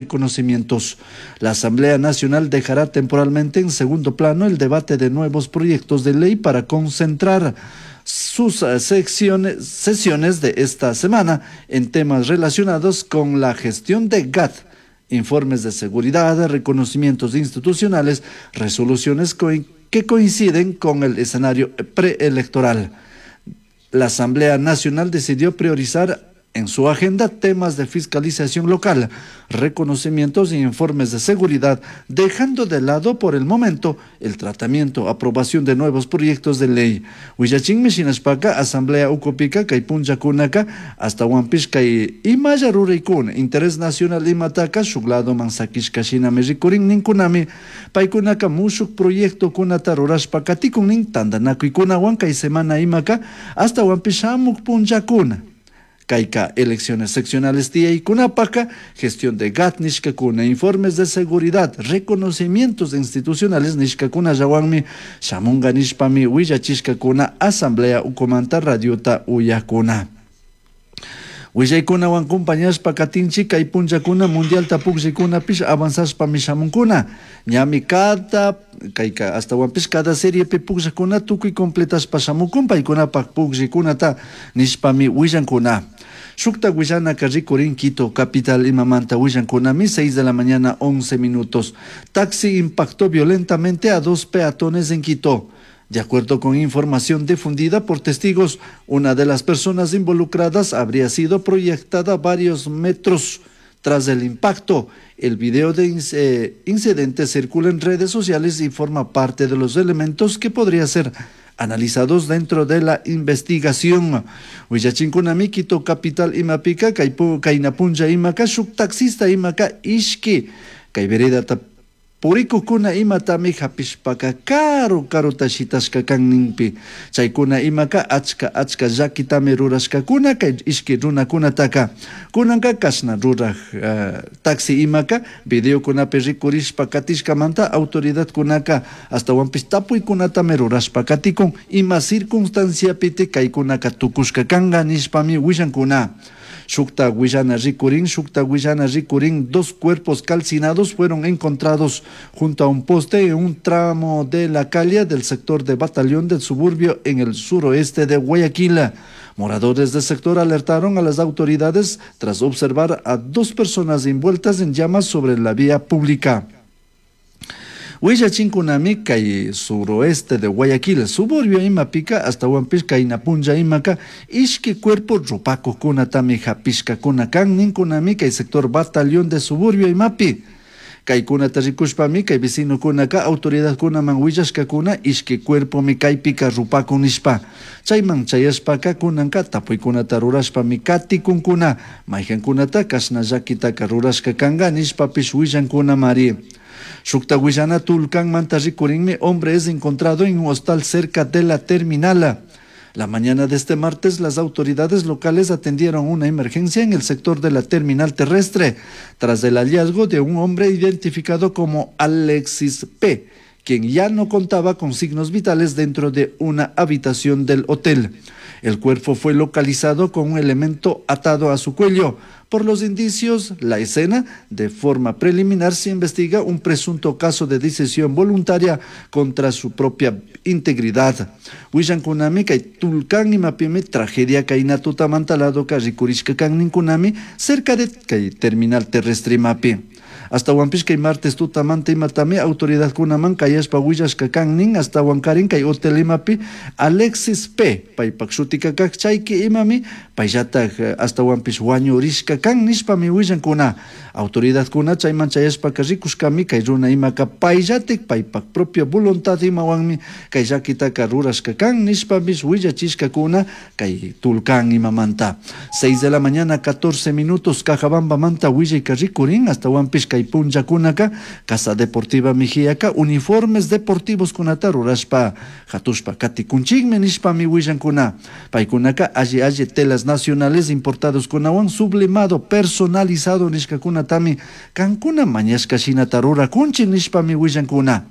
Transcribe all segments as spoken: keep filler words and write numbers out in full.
Reconocimientos. La Asamblea Nacional dejará temporalmente en segundo plano el debate de nuevos proyectos de ley para concentrar sus eh, secciones, sesiones de esta semana en temas relacionados con la gestión de G A T, informes de seguridad, reconocimientos institucionales, resoluciones que coinciden con el escenario preelectoral. La Asamblea Nacional decidió priorizar en su agenda temas de fiscalización local, reconocimientos y informes de seguridad, dejando de lado por el momento el tratamiento, aprobación de nuevos proyectos de ley. Huillachinmi shinashpaka Asamblea ukupika kay punllakunaka ashtahuanpish kay imalla ruraykuna interés nacional imataka shuk ladoman sakishka shinami rikurin ninkunami. Paykunaka mushuk proyectokunata rurashpa katikun nin tantanakuykunawan kay semana imaka ashtahuanpish shamuk punllakuna kayka elecciones seccionales tiyaykunapaka gestión de G A T nishkakuna, informes de seguridad, reconocimientos institucionales nishkakunallawanmi shamunga nishpami willachishkakuna asamblea ukumanta radiota uyakuna. Willaykunawan compañashpa katinchik. Kay punllakuna mundialta pukllaykunapish avanzashpami shamunkuna. Ñami cada kayka ashtahuanpish cada seriepi pukllakuna tukuy completashpa shamukun paykunapak pukllaykunata nishpami willankuna. Shukta willanaka rikurin Quito capital imamanta willankunami. seis de la mañana once minutos. Taxi impactó violentamente a dos peatones en Quito. De acuerdo con información difundida por testigos, una de las personas involucradas habría sido proyectada varios metros tras el impacto. El video de eh, incidente circula en redes sociales y forma parte de los elementos que podría ser analizados dentro de la investigación. Huillachinkunami Quito capital imapika kayna punlla imaka shuk taxista imaka ishki kay veredata purikukuna imatami hapishpaka karu karuta shitashka kan ninpi. Chaykuna imaka achka achka llakitami rurashkakuna kay ishki runakunataka. Kunanka kashna ruraj uh, taxi imaka videokunapi rikurishpa katishkamanta autoridadkunaka ashtahuanpish tapuykunatami rurashpa katikun ima circunstanciapiti kaykunaka tukushka kanka nishpami willankuna. Shukta willana rikurin, shukta willana rikurin, dos cuerpos calcinados fueron encontrados junto a un poste en un tramo de la calle del sector de Batallón del Suburbio en el suroeste de Guayaquil. Moradores del sector alertaron a las autoridades tras observar a dos personas envueltas en llamas sobre la vía pública. Huillachinkunami kay suroeste de Guayaquil, suburbio imapika ashtahuanpish kayna punlla imaka ishki cuerpo rupakukunatami hapishkakuna kan ninkunami kay sector Batallón de Suburbio imapi. Kaykunata rikushpami kay vecinokunaka autoridadkunaman willashkakuna ishki cuerpomi kaypika rupakun nishpa. Chayman chayashpaka kunanka tapuykunata rurashpami katikunkuna maykankunata kashna llakitaka rurashka kanka nishpapish willankunamari. Shukta willana Tulcánmanta rikurinmi. Hombre es encontrado en un hostal cerca de la terminal. La mañana de este martes, las autoridades locales atendieron una emergencia en el sector de la terminal terrestre, tras el hallazgo de un hombre identificado como Alexis P., quien ya no contaba con signos vitales dentro de una habitación del hotel. El cuerpo fue localizado con un elemento atado a su cuello. Por los indicios, la escena, de forma preliminar se investiga un presunto caso de decisión voluntaria contra su propia integridad. Willankunami kay Tulcán imapimi tragedia kayna tutamanta ladoka rikurishka kan ninkunami cerca de kay terminal terrestre imapi. Ashtahuanpish kay martes tutamanta imatami autoridadkunaman kayashpa willashka kan nin ashtahuankarin kay hotel imapi Alexis P. paypak shutika kak chayki imami payllatak eh, ashtahuanpish wañurishka kan nishpami willankuna. Autoridadkuna chayman chayashpaka rikushkami kay runa imaka payllatik paypak propia voluntad imawanmi kay llakitaka rurashka kan nishpapish willachishkakuna kay Tulcán imamanta. seis de la mañana catorce minutos. Cajabambamanta willayka rikurin ashtahuanpish kay punllakunaka Casa Deportiva Mejiaka uniformes deportivos kunata rurashpa hatushpa katikunchikmi nishpami willankuna. Paykunaka alli alli telas nacionales importados kunawan sublimado personalizado nishkakunatami kankuna mañashka shinata rurakunchik nishpami willankuna.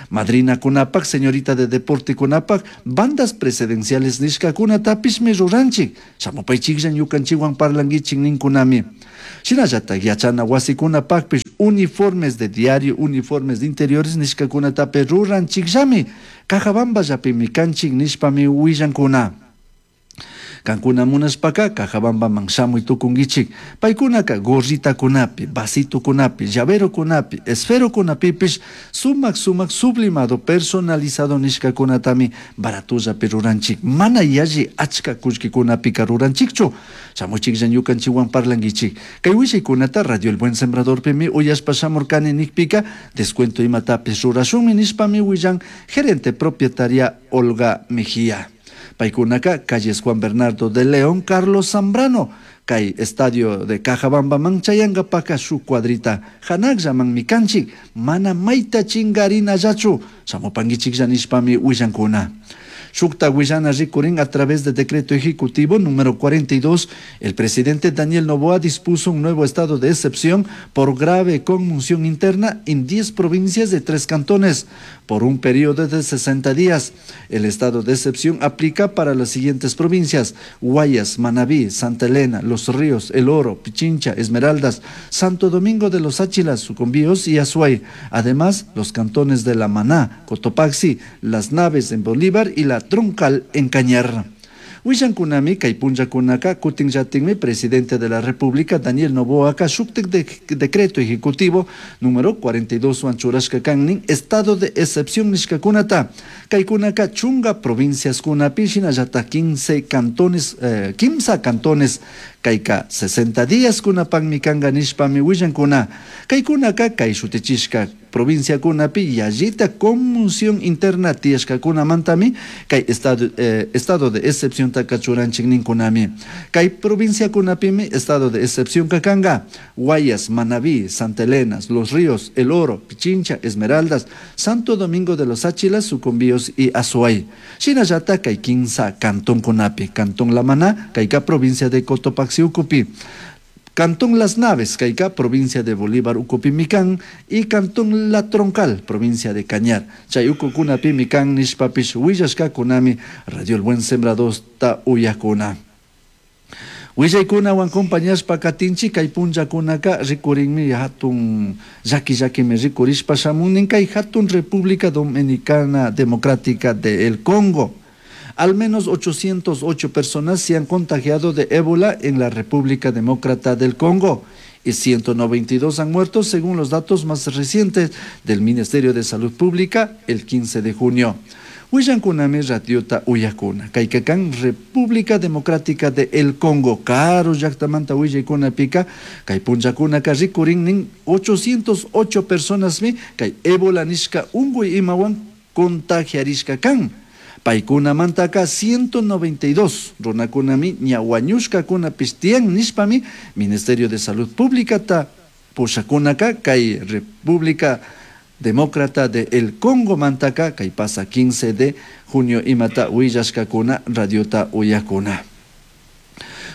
Madrinakunapak, señorita de deportekunapak, bandas precedenciales nishkakunatapishmi ruranchik. Shamupaychiklla ñukanchikwan parlankichik ninkunami. Shinallatak yachana wasikunapakpish uniformes de diario, uniformes de interiores nishkakunatapish ruranchikllami. Cajabamballapimi kanchik nishpami willankuna. Kankuna munashpaka Cajabambaman shamuy tukunkichik. Paykunaka gorritakunapi, vasitokunapi, llaverokunapi, esferokunapipish sumak sumak sublimado personalizado nishkakunatami baratollapi ruranchik. Mana yalli achka kullkikunapika ruranchikchu. Shamuchiklla ñukanchikwan parlankichik. Kay willaykunata Radio El Buen Sembradorpimi uyashpa shamurkani nikpika descuento imatapish rurashunmi nishpami willan gerente propietaria Olga Mejía. Paykunaka calles Juan Bernardo de León, Carlos Zambrano, kay estadio de Cajabambaman chayankapaka shuk cuadrita hanakllamanmi kanchik, mana mayta chingarinallachu, shamupankichiklla nishpami willankuna. Shukta willana rikurin a través de decreto ejecutivo número cuarenta y dos, el presidente Daniel Noboa dispuso un nuevo estado de excepción por grave conmoción interna en diez provincias de tres cantones por un periodo de sesenta días. El estado de excepción aplica para las siguientes provincias: Guayas, Manabí, Santa Elena, Los Ríos, El Oro, Pichincha, Esmeraldas, Santo Domingo de los Tsáchilas, Sucumbíos y Azuay. Además, los cantones de La Maná, Cotopaxi, Las Naves en Bolívar y La Troncal en Cañar. Willankunami kay punllakunaka kutinllatinmi presidente de la República Daniel Noboa ka shuktik de, decreto ejecutivo número cuarenta y dos wan churashka kannin estado de excepción nishkakunata. Kaykunaka chunga provincias kunapi shinallata quince cantones, eh, quimsa cantones kayka sesenta días kunapakmi kanka nishpami willankuna. Kaykunaka kay shutichishka provincia kunapi yallita conmoción interna tiyashkakunamantami kay estado, eh, estado de excepción taka churanchik ninkunami. Kay provincia kunapimi estado de excepción kakanga Guayas, Manabí, Santa Elena, Los Ríos, El Oro, Pichincha, Esmeraldas, Santo Domingo de los Tsáchilas, Sucumbíos y Azuay. Shinallata kay quinsa cantón kunapi, Cantón La Maná, kayka provincia de Cotopaxi ucupi. Cantón Las Naves, kayka provincia de Bolívar ukupimikan, y Cantón La Troncal, provincia de Cañar. Chay ukukunapimikan nishpapish willashkakunami Radio El Buen Sembrador ta uyakuna. Willaykunawan compañashpa katinchi kay punllakunaka rikurinmi hatun llaki llakimi rikurishpa shamunin kay hatun República Dominicana Democrática de El Congo. Al menos ochocientas ocho personas se han contagiado de ébola en la República Demócrata del Congo y ciento noventa y dos han muerto según los datos más recientes del Ministerio de Salud Pública el quince de junio. Willankunami radiota uyakuna. Kaykakan República Democrática de El Congo. Karu llaktamanta willaykunapika kay punllakunaka rikurinnin ochocientas ocho personas mi kay ébola nishka unguy imawan contagiarishka kan. Paykunamantaka ciento noventa y dos runakunami ña wañushkakunapish tiyan nishpami Ministerio de Salud Pública ta pushakunaka kay República Demócrata de El Congo mantaka kay pasa quince de junio imata willashkakuna radiota uyakuna.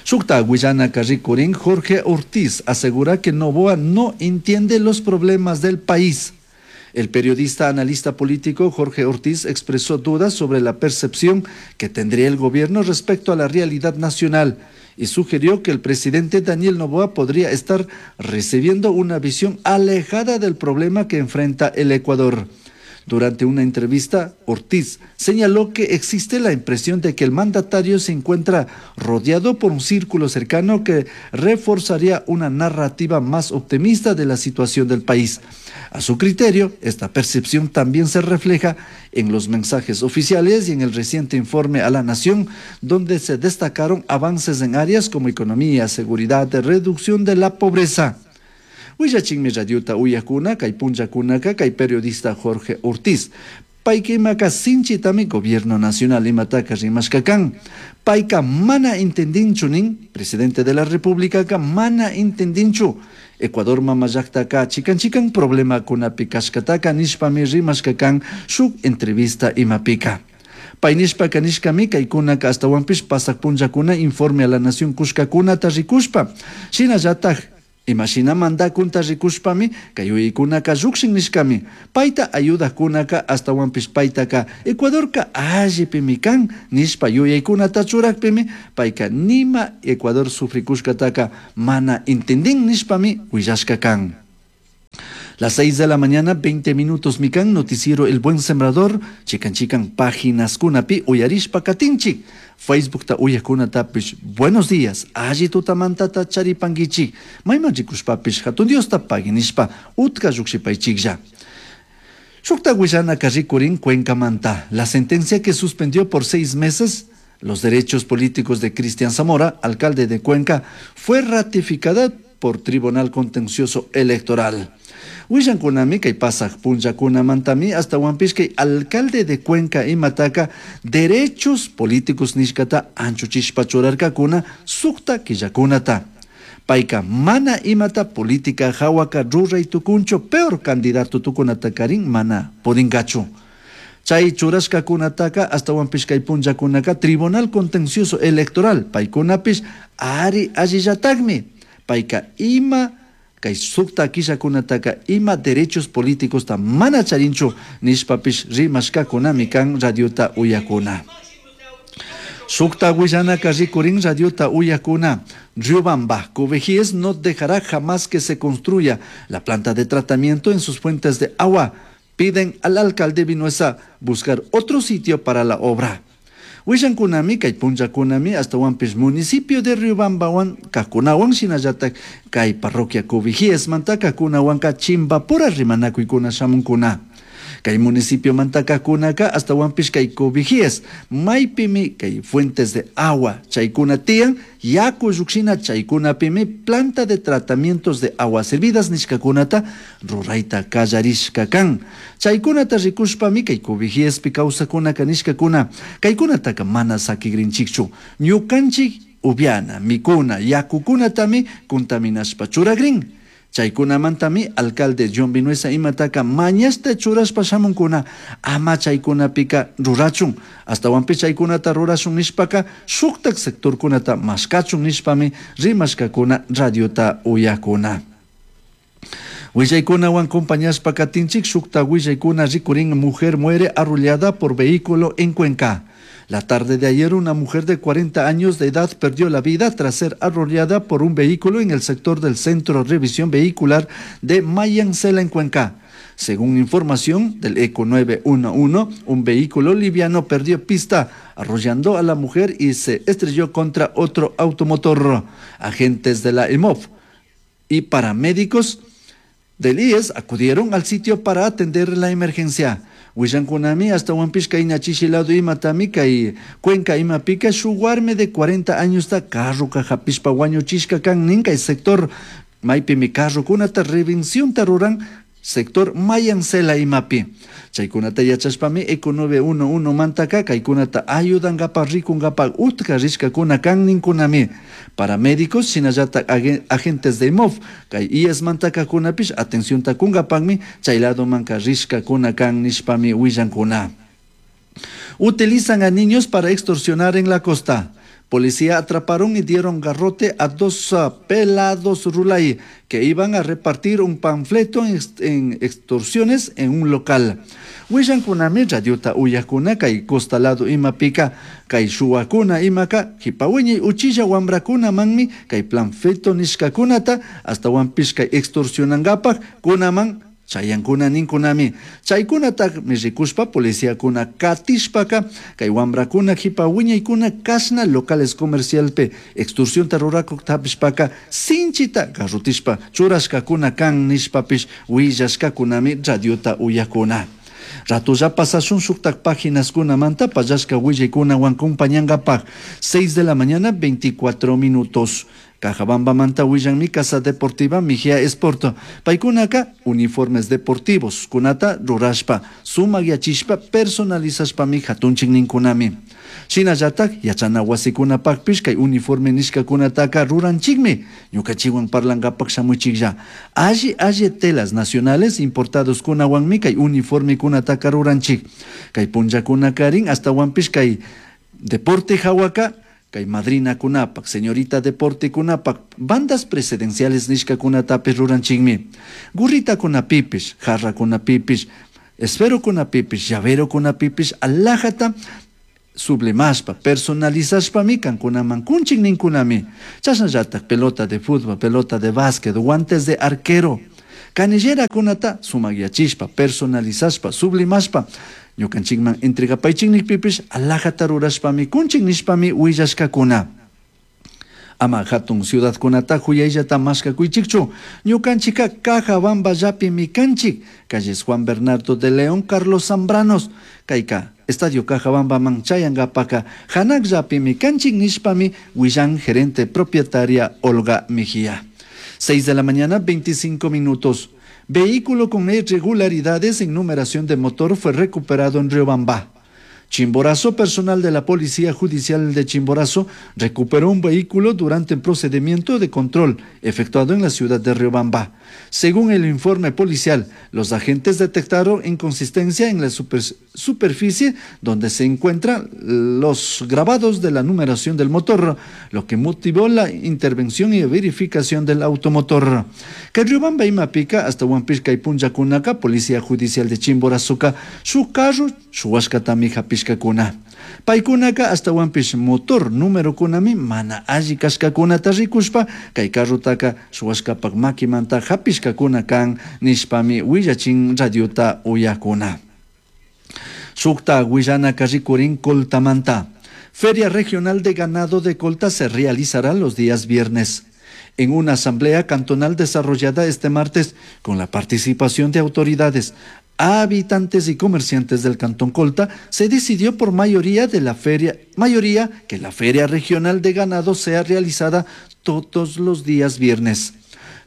Shukta willana rikurin Jorge Ortiz asegura que Noboa no entiende los problemas del país. El periodista analista político Jorge Ortiz expresó dudas sobre la percepción que tendría el gobierno respecto a la realidad nacional y sugirió que el presidente Daniel Noboa podría estar recibiendo una visión alejada del problema que enfrenta el Ecuador. Durante una entrevista, Ortiz señaló que existe la impresión de que el mandatario se encuentra rodeado por un círculo cercano que reforzaría una narrativa más optimista de la situación del país. A su criterio, esta percepción también se refleja en los mensajes oficiales y en el reciente informe a la Nación, donde se destacaron avances en áreas como economía, seguridad, reducción de la pobreza. Willachinmi radiota uyakuna, kay punllakunaka, kay periodista Jorge Ortiz. Paykimaka sinchitami gobierno nacional imataka rimashkakan. Payka mana entendinchu nin, presidente de la República ka mana entendinchu. Ecuador mamallaktaka chikan chikan problema kunapi kashkataka nishpami rimashkakan shuk entrevista imapika. Paynishpa kanishkami kaykunaka astawanpish pasak punllakuna informe a la nación kushkakunata rikushpa. Shinallatak Imashina mandakunta rikushpami kay yuyaykunaka llukshin nishkami. Payta ayudajkunaka ashtawanpish paytaka Ecuadorka allipimi kan nishpa yuyaykunata churakpimi payka nima Ecuador sufrikushkataka mana entendin nishpami willashka kan. Las seis de la mañana, veinte minutos mikan, noticiero El Buen Sembrador, chikan chikan páginas kunapi uyarishpa katinchik. Facebook ta uyakunatapish, buenos días, alli tutamantata charipanguichik, mayman rikushpapish hatun Diosta paginishpa utka llukshipaychiklla. Shukta willana rikurin Cuencamanta, la sentencia que suspendió por seis meses los derechos políticos de Cristian Zamora, alcalde de Cuenca, fue ratificada por Tribunal Contencioso Electoral. Willankunami kay pasaj punllakunamantami ashtawanpish kay alcalde de Cuenca imataka derechos políticos nishkata anchuchishpa churarkakuna sukta killakunata. Payka mana imata política hawaka ruray tukunchu, peor candidato tukunata karin mana pudinkachu. Chay churashkakunataka ashtawanpish kay punllakunaka Tribunal Contencioso Electoral paykunapish ari allillatakmi. Payka ima kay sukta killakunataka ima derechos políticos ta mana charinchu nishpapish rimashkakunami kan radiota uyakuna. Sukta willanaka rikurin radiota uyakuna. Riobamba, Cubijíes no dejará jamás que se construya la planta de tratamiento en sus fuentes de agua. Piden al alcalde Vinuesa buscar otro sitio para la obra. Willankunami kay punllakunami ashtawanpish municipio de Riobambawan kakunawan shinallatak kay parroquia Cubijíesmanta kakunawanka chimbapura rimanakuykuna shamunkuna. Kay municipio manta kakunaka ashtawanpish kay Cubijíes maypimi kay fuentes de agua chaykuna tiyan yaku llukshina chaykunapimi planta de tratamientos de aguas servidas nishkakunata rurayta kallarishka kan. Chaykunata rikushpami kay Cubijíespi kawsakunaka nishkakuna kaykunataka mana sakigrinchikchu. Ñukanchik upiana, mikuna, yakukunatami contaminashpa churagrin. Chaykunamantami alcalde John Vinuesa imataka mañasta churashpa shamunkuna ama chaykunapika rurachun. Ashtawanpish chaykunata rurashun nishpaka shuktak sectorkunata mashkachun nishpami rimashkakuna radiota uyakuna. Willaykunawan compañashpa katinchik shukta willaykuna rikurin mujer muere arrollada por vehículo en Cuenca. La tarde de ayer, una mujer de cuarenta años de edad perdió la vida tras ser arrollada por un vehículo en el sector del Centro de Revisión Vehicular de Mayancela, en Cuenca. Según información del Eco nueve uno uno, un vehículo liviano perdió pista, arrollando a la mujer y se estrelló contra otro automotor. Agentes de la E M O V y paramédicos del I E S acudieron al sitio para atender la emergencia. Willankunami ashtawanpish kay ñachishilado imatami kay Cuenca imapika shuk warmi de cuarenta años ta carroka hapishpa wañuchishka kan nin kay sector maypimi carrokunata revencionta ruran sector Mayancela imapi. Chaykunata yachashpami Eco nueve uno uno mantaka kaykunata ayudankapa rikunkapa utka rishkakuna kan ninkunami. Paramédicos shinallata agentes de I M O V kay I E S mantakakunapish atencionta kunkapakmi chay lado manka rishkakuna kan nishpami willankuna. Utilizan a niños para extorsionar en la costa. Policía atraparon y dieron garrote a dos, uh, pelados rulay que iban a repartir un panfleto en ex-, en extorsiones en un local. Willankunami radiota uyakuna kay costa lado imapika kay shuwakuna imaka hipawiñay uchilla wambrakuna manmi kay panfleto nishkakunata hasta wampish kay extorsionangapak kunaman chayankuna ninkunami. Chaykunataqmi rikushpa policiakuna katishpaka kay wambrakuna hipawiñaykuna kashna locales comercialpe extorsionta rurakuq tapishpaka sinchita garrutishpa churashkakuna kan nishpapish willashkakunami radiota uyakuna. Ratulla pasashun shuktak páginaskunamanta pallashka willaykunawan compañankapaj. Seis de la mañana, veinticuatro minutos. Cajabamba manta willanmi Casa Deportiva Mejía Sport. Paykunaka uniformes deportivos kunata rurashpa, sumak yachishpa, personalizashpami hatunchik ninkunami. Shinallatak yachana wasikunapakpish kay uniforme nishkakunataka ruranchikmi. Ñukachiwan parlankapak shamuchiklla. Alli alli telas nacionales importados kunawanmi kay uniforme kunataka ruranchik. Kay punllakunakarin hasta wanpish kay deporte hawaka Kay madrinakunapak, señorita deportekunapak, bandas precedenciales nishkakunatapish ruranchikmi. Gurritakunapipish, jarrakunapipish, esferokunapipish, llaverokunapipish alajata sublimashpa, personalizashpami kankunaman kunchik ninkunami. Chashnallatak pelota de fútbol, pelota de básquet, guantes de arquero, canillerakunata sumakyachishpa, personalizashpa, sublimashpa, ñukanchikman entregapaychik nikpipish alajata rurashpami kunchik nishpami willashkakuna. Ama hatun ciudadkunata huyayllata mashkakuychikchu, ñukanchikka Cajabamballapimi kanchik, calles Juan Bernardo de León, Carlos Zambranos, kayka Estadio Cajabambaman chayankapaka hanakllapimi kanchik nishpami willan gerente propietaria Olga Mejía. seis de la mañana, veinticinco minutos. Vehículo con irregularidades en numeración de motor fue recuperado en Riobamba. Chimborazo, personal de la Policía Judicial de Chimborazo recuperó un vehículo durante un procedimiento de control efectuado en la ciudad de Riobamba. Según el informe policial, los agentes detectaron inconsistencia en la super-, superficie donde se encuentran los grabados de la numeración del motor, lo que motivó la intervención y verificación del automotor. Que Riobamba imapica hasta Huampisca y Punjacunaca, Policía Judicial de Chimborazoca, su carro, su huascatami japishkakuna. Paykunaka hasta Huampish motor número kunami mana alli kashkakunata rikushpa kay carrotaka shuwashkapak makimanta japishkakuna kan nishpami willachin radiota uyakuna. Sukta willanaka rikurin Coltamanta. Feria Regional de Ganado de Colta se realizará los días viernes. En una asamblea cantonal desarrollada este martes con la participación de autoridades, habitantes y comerciantes del Cantón Colta, se decidió por mayoría de la feria, mayoría que la Feria Regional de Ganado sea realizada todos los días viernes.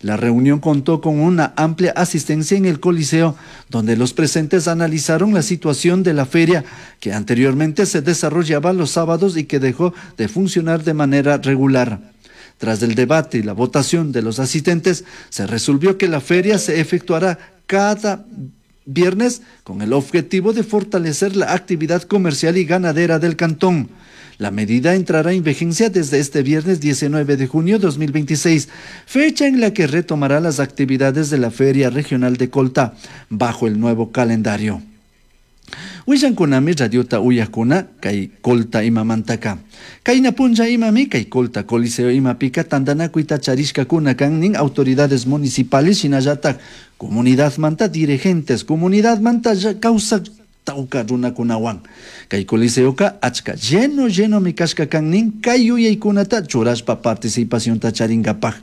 La reunión contó con una amplia asistencia en el Coliseo, donde los presentes analizaron la situación de la feria, que anteriormente se desarrollaba los sábados y que dejó de funcionar de manera regular. Tras el debate y la votación de los asistentes, se resolvió que la feria se efectuará cada viernes con el objetivo de fortalecer la actividad comercial y ganadera del cantón. La medida entrará en vigencia desde este viernes diecinueve de junio de dos mil veintiséis, fecha en la que retomará las actividades de la Feria Regional de Colta bajo el nuevo calendario. Willankunami radiota uyakuna kay Colta imamantaka. Kayna punlla imami kay Colta Coliseo imapika tantanakuyta charishkakuna kan nin autoridades municipales shinallatak comunidad manta dirigentes, comunidad manta kawsak tawka runakunawan. Kay Coliseoka achka lleno lleno mi kashka kan nin kay yuyaykunata churashpa participacionta charinkapak.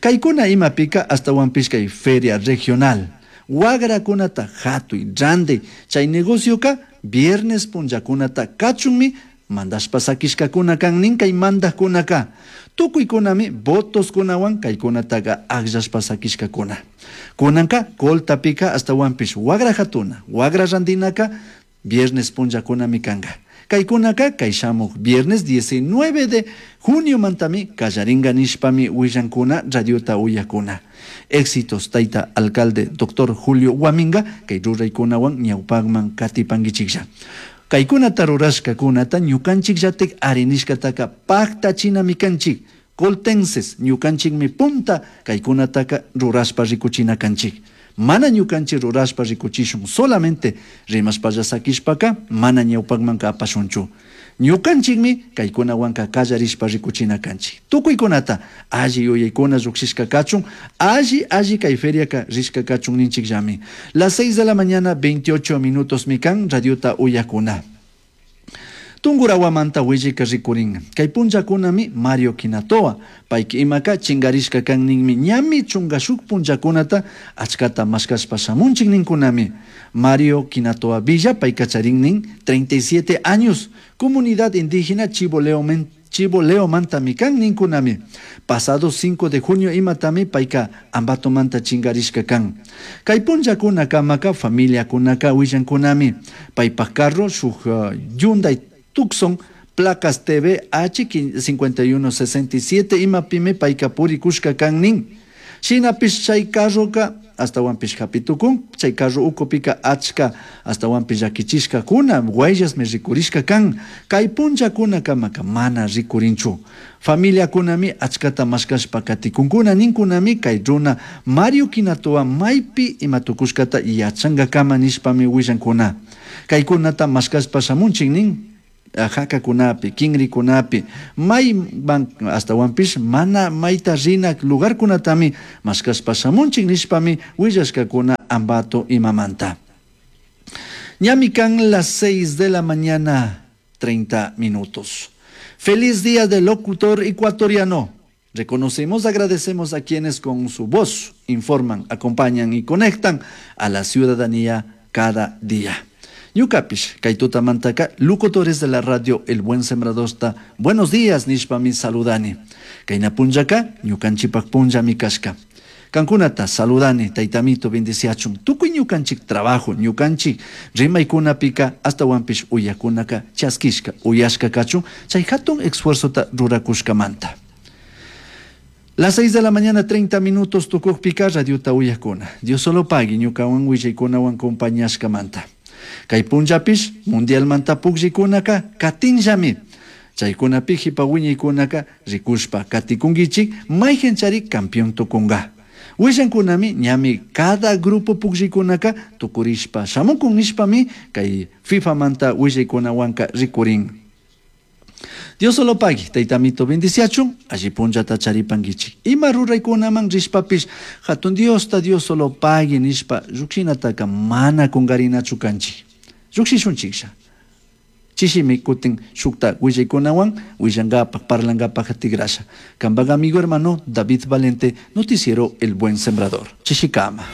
Kaykuna imapika hasta kay feria regional. Wagrakunata hatuy randi chay negocioka viernes punllakunata kachunmi mandashpa sakishkakuna kan nin kay mandajkunaka. Tukuykunami votoskunawan kaykunataka akllashpa sakishkakuna. Kunanka Coltapika hasta wagra hatuna, wagra randinaka viernes punllakunami kanka. Kaykunaka kay shamuq viernes diecinueve de junio mantami kallaringa nishpami willankuna radiota uyakuna. Éxitos taita alcalde doctor Julio Guaminga kay ruraykunawan ñawpaqman katipankichiklla. Kaykunata rurashkakunata ñukanchikllatik arinishkataka paktachinami kanchik. Coltenses ñukanchikmi punta kaykunataka rurashpa rikuchina kanchik. Mana ñukanchik rurashpa rikuchishun solamente rimashpalla sakishpaka mana ñawpaqmanka apashunchu. Ñukanchikmi kaykunawanka kallarishpa rikuchina kanchik. Tukuykunata alli yuyaykuna lluqshishka kachun, alli alli kay feriaka rishka kachun ninchikllami. Las seis de la mañana, veintiocho minutos mikan, radiota uyakuna. Tungurawamanta willika rikurin. Kay punllakunami Mario Quinatoa, payki imaka chingarishka kan ninmi ñami chunga shuk punllakunata achkata mashkashpa shamunchik ninkunami. Mario Quinatoa Villa, payka charin nin treinta y siete años, comunidad indígena Chiboleo Chiboleomanta mikan ninkunami. Pasado cinco de junio imatami payka ambatomanta chingarishka kan. Kay punllakuna kamaka familia kunaka willankunami. Paypak carro shuk, uh, Hyundai Tucson, placas T V H cincuenta y uno sesenta y siete imapime payka purikushka kan nin. Shinapish chay carroka Astawanpish hapi tukun chay carro ukupika achka astawanpish llakichishkakuna huellasmi rikurishka kan. Kay punllakunakamaka mana rikurinchu. Familiakunami achkata mashkashpa katikunkuna ninkunami kay runa Mario Quinatoa maypi ima tukushkata yachankakama nishpami willankuna. Kaykunata mashkashpa shamunchik nin hakakunapi, kinrikunapi, mayman astawanpish mana mayta rina lugarkunatami mashkashpa shamunchik nishpami willashkakuna Ambato imamanta. Ñami kan las seis de la mañana, treinta minutos. Feliz día del locutor ecuatoriano. Reconocemos, agradecemos a quienes con su voz informan, acompañan y conectan a la ciudadanía cada día. Ñucapish, kay tutamantaka, locutores de la radio El Buen Sembradorta, buenos días, nishpami saludani. Kayna punllaka, ñukanchikpak punllami kashka. Kankunata saludani, taytamito bendiciachun. Tukuy ñukanchik trabajo, ñukanchik rimaykunapika, astawanpish uyakunaka chaskishka, uyashka kachun, chay hatun esfuerzota rurakushkamanta. Las seis de la mañana, treinta minutos tukukpika radiota uyakuna. Dios solo pagui, ñukawan willaykunawan compañashkamanta. Kay punllapish mundialmanta pukllaykunaka katinllami. Chaykunapi jipa wiñaykunaka rikushpa katikunkichik mayqinchari campeón tukunka. Willankunami ñami cada grupo pukllaykunaka tukurishpa shamukun nishpami kay FIFAmanta willaykunawanka rikurin. Dios solo pagui, taytamito bendiciachun, alli punllata charipankichik. Ima ruraykunaman rishpapish, hatun Diosta Dios solo pagui nishpa llukshinataka mana kunkarinachu kanchik. Llukshishunchiklla. Chishimi kutin shukta willaykunawan willankapak, parlankapak tigrasha. Kampak amigo hermano David Valente, noticiero El Buen Sembrador. Chishikama.